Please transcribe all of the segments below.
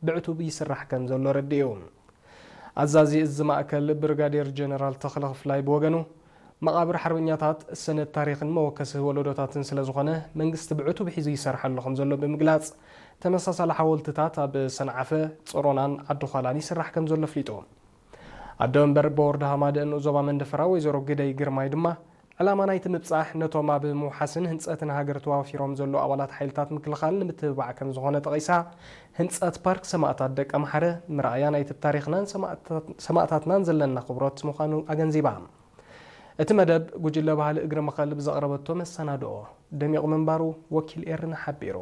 ብዕቱብ ይስራሕ ከም ዘሎ ረዲኡ። ኣዛዚ እዚ ማእከል ብርጋዴር ጀነራል ተኽለ ክፍላይ ብወገኑ፣ መቓብር ሓርበኛታት ሰነድ ታሪኽን መወከሲ ወለዶታትን ስለ ዝኾነ፣ መንግስቲ ብዕቱብ ሒዙ ይሰርሓሉ ከም ዘሎ ብምግላጽ፣ ተመሳሳሊ ሓወልትታት ኣብ ሰንዓፈ፣ ጾሮናን ዓዲ ዃላን ይስራሕ ከም ዘሎ ኣፍሊጡ። ኣዶ መንበር ቦርድ ሃማደእ ንኡስ ዞባ መንደፈራ ወይዘሮ ግደይ ግርማይ ድማ፣ ዕላማ ናይቲ ምብጻሕ ነቶም ኣብ ምውሓስን ህንጸትን ሃገር ተዋፊሮም ዘለዉ ኣባላት ሓይልታት ምክልኻል ንምትብባዕ ከም ዝኾነ ጠቒሳ፣ ህንጸት ፓርክ ሰማእታት ደቀምሓረ ምርኣያ ናይቲ ታሪኽናን ሰማእታት-፣ ሰማእታትናን ዘለና ክብሮት ምዃኑ ኣገንዚባ። እቲ መደብ ጉጅለ ባህሊ እግሪ መኸል ብዘቕረበቶ መሰናድኦ ደሚቑ ምንባሩ ወኪል ኤርና ሓቢሩ።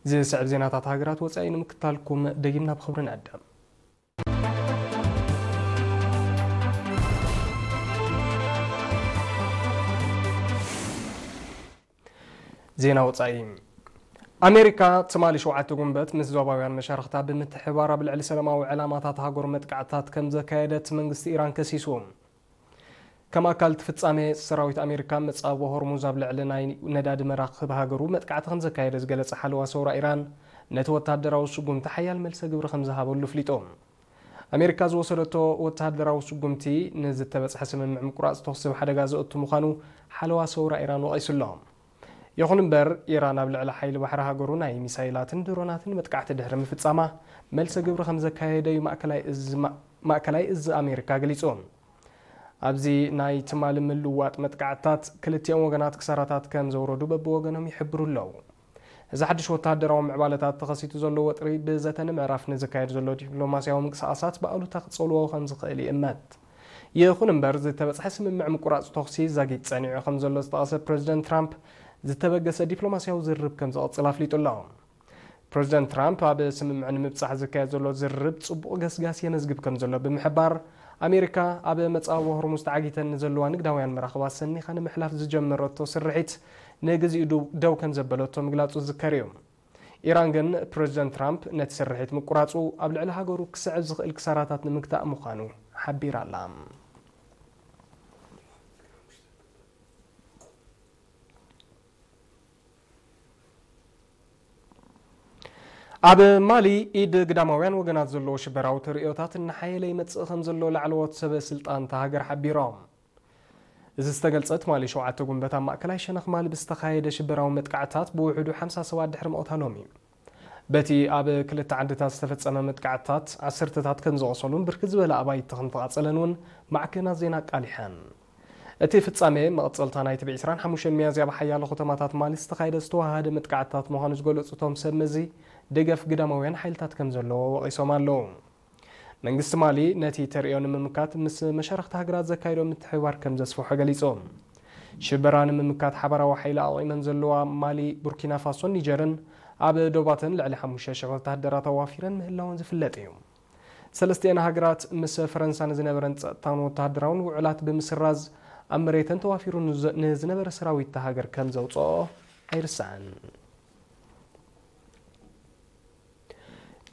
ዝስዕብ ዜናታት ሃገራት ወጻኢ ንምክታልኩም ደጊምና ብኽብሪ ንዕደም። ዜና ወጻኢ። ኣሜሪካ ትማሊ ሸውዓተ ጉንበት ምስ ዞባውያን መሻርኽታ ብምትሕብባር ኣብ ልዕሊ ሰላማዊ ዕላማታት ሃገሩ መጥቃዕትታት ከም ዘካየደት መንግስቲ ኢራን ከሲሱ። ከም ኣካል እቲ ፍጻሜ፣ ሰራዊት ኣሜሪካ መጻብቦ ሆርሙዝ ኣብ ልዕሊ ናይ ነዳዲ መራኽብ ሃገሩ መጥቃዕቲ ከም ዘካየደ ዝገለጸ ሓለዋ ሰውራ ኢራን፣ ነቲ ወተሃደራዊ ስጉምቲ ሓያል መልሰ ግብሪ ከም ዝሃበሉ ኣፍሊጡ። ኣሜሪካ ዝወሰደቶ ወተሃደራዊ ስጉምቲ ንዝተበጽሐ ስምምዕ ምቁራጽ ተኹሲ ኣብ ሓደጋ ዘእቱ ምዃኑ ሓለዋ ሰውራ ኢራን ወቒሱ ኣሎ። ይኹን እምበር፣ ኢራን ኣብ ልዕሊ ሓይሊ ባሕሪ ሃገሩ ናይ ሚሳይላትን ድሮናትን መጥቃዕቲ ድሕሪ ምፍጻማ፣ መልሰ ግብሪ ከም ዘካየደ እዩ ማእከላይ እዝ፣ ማ-፣ ማእከላይ እዝ ኣሜሪካ ገሊጹ። ኣብዚ ናይ ትማሊ ምልውዋጥ መጥቃዕትታት፣ ክልቲኦም ወገናት ክሳራታት ከም ዘውረዱ በብወገኖም ይሕብሩ ኣለዉ። እዚ ሓድሽ ወተሃደራዊ ምዕባለታት ተኸሲቱ ዘሎ ወጥሪ ብዘተ ንምዕራፍ ንዝካየድ ዘሎ ዲፕሎማስያዊ ምንቅስቓሳት ብኣሉታ ክጸልዎ ከም ዝኽእል ይእመት። ይኹን እምበር፣ ዝተበጽሐ ስምምዕ ምቁራጽ ተኹሲ ዛጊት ጸኒዑ ከም ዘሎ ዝጠቐሰ ፕረዚደንት ትራምፕ፣ ዝተበገሰ ዲፕሎማስያዊ ዝርርብ ከም ዝቕጽል ኣፍሊጡ ኣሎ። ፕረዚደንት ትራምፕ ኣብ ስምምዕ ንምብጻሕ ዝካየድ ዘሎ ዝርርብ ጽቡቕ ገስጋስ የመዝግብ ከም ዘሎ ብምሕባር፣ ኣሜሪካ ኣብ መጻብቦ ሆርሙዝ ተዓጊተን ንዘለዋ ንግዳውያን መራኽባት ሰኒኻ ንምሕላፍ ዝጀመረቶ ስርሒት ንግዚኡ ዱ-፣ ደው ከም ዘበለቶ ምግላጹ ዝዝከር እዩ። ኢራን ግን ፕረዚደንት ትራምፕ ነቲ ስርሒት ምቁራጹ ኣብ ልዕሊ ሃገሩ ክስዕብ ዝኽእል ክሳራታት ንምግታእ ምዃኑ ሓቢራ ኣላ። ኣብ ማሊ፣ ኢድ ግዳማውያን ወገናት ዘለዎ ሽበራዊ ተርእዮታት እናሓየለ ይመጽእ ከም ዘሎ ላዕለዎት ሰበ ስልጣን እታ ሃገር ሓቢሮም። እዚ ዝተገልጸ፣ ትማሊ ሸውዓተ ጉንበት ኣብ ማእከላይ ሸነኽ ማሊ ብዝተኻየደ ሽበራዊ መጥቃዕትታት ብውሕዱ ሓምሳ ሰባት ድሕሪ ምቕታሎም እዩ። በቲ ኣብ ክልተ ዓድታት ዝተፈጸመ መጥቃዕትታት፣ ዓሰርተታት ከም ዝቖሰሉን ብርክት ዝበለ ኣባይቲ ከም ዝተቓጸለን እውን ማዕከናት ዜና ኣቃሊሐን። እቲ ፍጻሜ፣ መቐጸልታ ናይቲ ብዕስራን ሓሙሽተን ሚያዝያ ኣብ ሓያሎ ከተማታት ማሊ ዝተኻየደ ዝተዋሃሃደ መጥቃዕትታት ምዃኑ ዝገለጹ እቶም ሰብ መዚ፣ ደገፍ ግዳማውያን ሓይልታት ከም ዘለዎ ወቒሶም ኣለዉ። መንግስቲ ማሊ ነቲ ተርእዮ ንምምካት ምስ መሻርኽቲ ሃገራት ዘካየዶ ምትሕብባር ከም ዘስፍሖ ገሊጹ። ሽበራ ንምምካት ሓባራዊ ሓይሊ ኣቕሚመን ዘለዋ ማሊ፣ ቡርኪና ፋሶን ኒጀርን ኣብ ዶባተን ልዕሊ ሓሙሽተ ሽሕ ወተሃደራት ኣዋፊረን ምህላወን ዝፍለጥ እዩ። ሰለስቲአን ሃገራት ምስ ፈረንሳ ንዝነበረን ጸጥታውን ወተሃደራውን ውዕላት ብምስራዝ፣ ኣብ መሬተን ተዋፊሩ ንዘ-፣ ንዝነበረ ሰራዊት እታ ሃገር ከም ዘውጽኦ ኣይርሳዕን።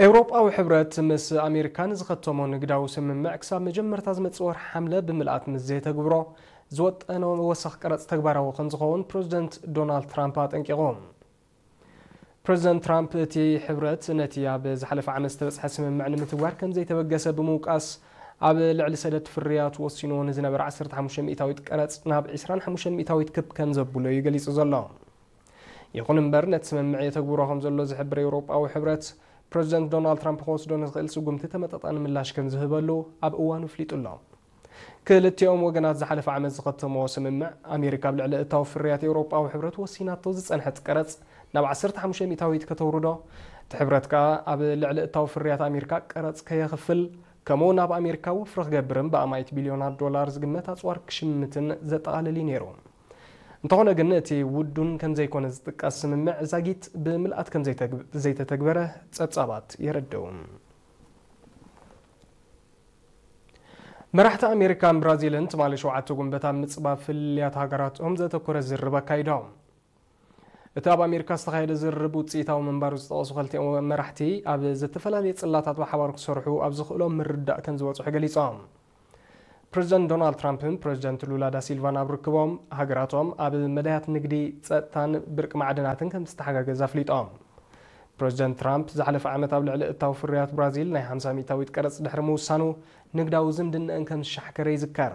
ኤውሮጳዊ ሕብረት ምስ ኣሜሪካ ንዝኸተሞ ንግዳዊ ስምምዕ ክሳብ መጀመርታ ዝመጽእ ወርሒ ሓምለ ብምልኣት ምስ ዘይተግብሮ፣ ዝወጠኖ ወሰኽ ቀረጽ ተግባራዊ ከም ዝኸውን ፕረዚደንት ዶናልድ ትራምፕ ኣጠንቂቑ። ፕረዚደንት ትራምፕ፣ እቲ ሕብረት ነቲ ኣብ ዝሓለፈ ዓመት ዝተበጽሐ ስምምዕ ንምትግባር ከም ዘይተበገሰ ብምውቃስ፣ ኣብ ልዕሊ ሰደድ ፍርያት ወሲንዎ ንዝነበረ ዓሰርተ ሓሙሽተ ሚእታዊት ቀረጽ ናብ ዕስራን ሓሙሽተን ሚእታዊት ክብ ከም ዘብሎ እዩ ገሊጹ ዘሎ። ይኹን እምበር፣ ነቲ ስምምዕ የተግብሮ ከም ዘሎ ዝሕብር ኤውሮጳዊ ሕብረት፣ ፕረዚደንት ዶናልድ ትራምፕ ክወስዶ ንዝኽእል ስጉምቲ ተመጣጣኒ ምላሽ ከም ዝህበሉ ኣብ እዋኑ ኣፍሊጡ ኣሎ። ክልቲኦም ወገናት ዝሓለፈ ዓመት ዝኸተምዎ ስምምዕ፣ ኣሜሪካ ኣብ ልዕሊ እታዊ ፍርያት ኤውሮጳዊ ሕብረት ወሲናቶ ዝጸንሐት ቀረጽ ናብ ዓሰርተ ሓሙሽተ ሚእታዊት ከተውርዶ፣ እቲ ሕብረት ከኣ ኣብ ልዕሊ እታዊ ፍርያት ኣሜሪካ ቀረጽ ከየኽፍል፣ ከምኡ እውን ኣብ ኣሜሪካ ወፍሪ ክገብርን ብኣማኢት ቢልዮናት ዶላር ዝግመት ኣጽዋር ክሽምትን ዘጠቓልል እዩ ነይሩ። እንተኾነ ግን፣ እቲ ውዱን ከም ዘይኮነ ዝጥቀስ ስምምዕ ዛጊት ብምልኣት ከም ዘይተግብ-፣ ዘይተተግበረ ጸብጻባት የረድኡ። መራሕቲ ኣሜሪካን ብራዚልን ትማሊ ሸውዓተ ጉንበት ኣብ ምጽባብ ፍልልያት ሃገራቶም ዘተኮረ ዝርርብ ኣካይዶም። እቲ ኣብ ኣሜሪካ ዝተኻየደ ዝርርብ ውጽኢታዊ ምንባሩ ዝጠቐሱ ክልቲኦም መራሕቲ፣ ኣብ ዝተፈላለየ ጽላታት ብሓባር ክሰርሑ ኣብ ዝኽእሎም ምርድዳእ ከም ዝበጽሑ ገሊጾም። ፕሬዚደንት ዶናልድ ትራምፕን ፕሬዚደንት ሉላ ዳሲልቫን ኣብ ርክቦም፣ ሃገራቶም ኣብ መዳያት ንግዲ፣ ጸጥታን ብርቂ ማዕድናትን ከም ዝተሓጋገዝ ኣፍሊጦም። ፕሬዚደንት ትራምፕ ዝሓለፈ ዓመት ኣብ ልዕሊ እታዊ ፍርያት ብራዚል ናይ ሓምሳ ሚእታዊት ቀረጽ ድሕሪ ምውሳኑ፣ ንግዳዊ ዝምድነአን ከም ዝሻሕከረ ይዝከር።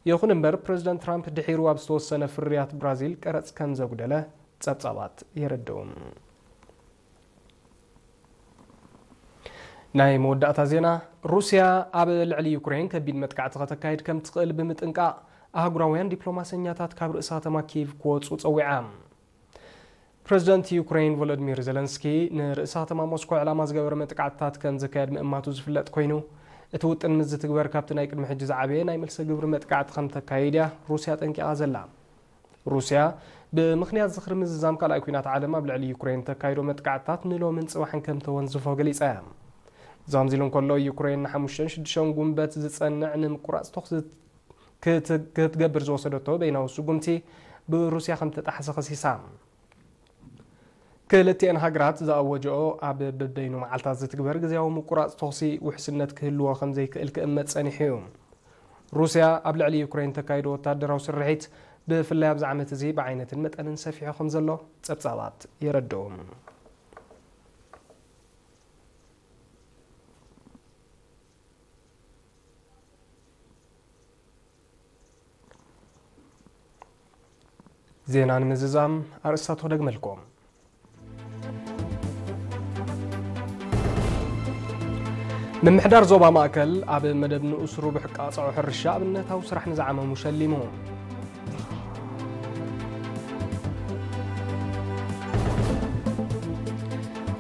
ይኹን እምበር፣ ፕሬዚደንት ትራምፕ ድሒሩ ኣብ ዝተወሰነ ፍርያት ብራዚል ቀረጽ ከም ዘጉደለ ጸብጻባት የረድኡ። ናይ መወዳእታ ዜና፣ ሩስያ ኣብ ልዕሊ ዩክሬን ከቢድ መጥቃዕቲ ከተካይድ ከም ትኽእል ብምጥንቃቕ፣ ኣህጉራውያን ዲፕሎማሰኛታት ካብ ርእሰ ከተማ ኪየቭ ክወጹ ጸዊዓ። ፕሬዚደንት ዩክሬን ቮሎዲሚር ዜለንስኪ ንርእሰ ከተማ ሞስኮ ዕላማ ዝገበረ መጥቃዕትታት ከም ዘካየድ ምእማቱ ዝፍለጥ ኮይኑ፣ እቲ ውጥን ምስ ዝትግበር ካብቲ ናይ ቅድሚ ሕጂ ዝዓበየ ናይ መልሰ ግብሪ መጥቃዕቲ ከም ተካይድ እያ ሩስያ ጠንቂቓ ዘላ። ሩስያ ብምኽንያት ዝኽሪ ምዝዛም ካልኣይ ኲናት ዓለም ኣብ ልዕሊ ዩክሬን ተካይዶ መጥቃዕትታት ንሎምን ጽባሕን ከም ተወንዝፎ ገሊጻ እያ። ዛምዚሉ እንከሎ፣ ዩክሬን ንሓሙሽተን ሽዱሽተን ጉንበት ዝጸንዕ ንምቁራጽ ተኹሲ ክት-፣ ክትገብር ዝወሰደቶ በይናዊ ስጉምቲ ብሩስያ ከም ተጣሕሰ ከሲሳ። ክልቲኤን ሃገራት ዝኣወጀኦ ኣብ በበይኑ መዓልታት ዝትግበር ግዜያዊ ምቁራጽ ተኹሲ ውሕስነት ክህልዎ ከም ዘይክእል ክእመት ጸኒሑ እዩ። ሩስያ ኣብ ልዕሊ ዩክሬን ተካይዶ ወታደራዊ ስርሒት ብፍላይ ኣብዚ ዓመት እዚ ብዓይነትን መጠንን ሰፊሑ ከም ዘሎ ጸብጻባት የረድኡ። ዜና ንምዝዛም ኣርእስታቱ ክደግመልኩም። ምምሕዳር ዞባ ማእከል ኣብ መደብ ንኡስ ርቡሕ ቃጽዖ ሕርሻ ኣብነታዊ ስራሕ ንዝዓመሙ ሸሊሙ።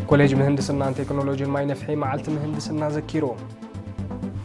ኮሌጅ ምህንድስናን ቴክኖሎጂን ማይ ነፍሒ መዓልቲ ምህንድስና ዘኪሩ።